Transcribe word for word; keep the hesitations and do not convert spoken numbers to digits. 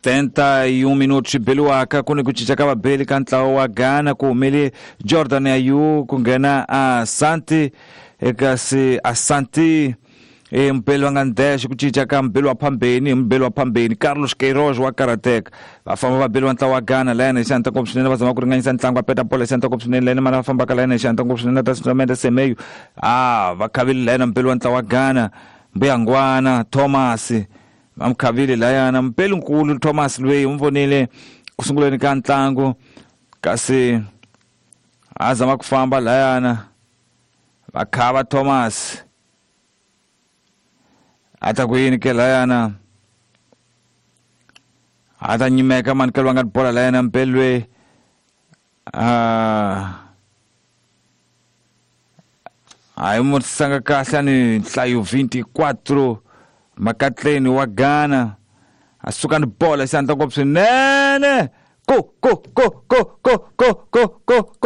setenta e um minutos beliwaka ku ni ku cinca ka vabeli ka ntlawa wa Ghana ku humele Jordan Ayew ku nghena Asante kasi Asante e mubeli wa nga ndexe ku cinca ka mubeli wa phambeni hi mubeli wa phambeni Carlos Queiroz wa karateka va famba vabeli wa ntlawa wa Ghana layana hi xihatla ngopfu swinene va zama ku ringanyisa ntlangu va peta bola hi xihatla ngopfu swinene layana mana va fambaka layana hi xihatla ngopfu swinene ta Samente Semeyo ah va khavile layana mubeli wa ntlawa wa Ghana Mbuyangwana Thomas va mu khavile layana mubeli nkulu Thomas loyi u vonile ku sunguleni ka ntlangu kasi a zama ku famba layana va khava Thomas ata ku yini ke layana a ta nyimeka mani ke lwa nga bola layana mpelwe a a yi mu sanga kahle ni nhlayo vinte e quatro makatleni wa Ghana a suka ni bola xandla ngopfu swinene ko ko ko ko ko ko ko ko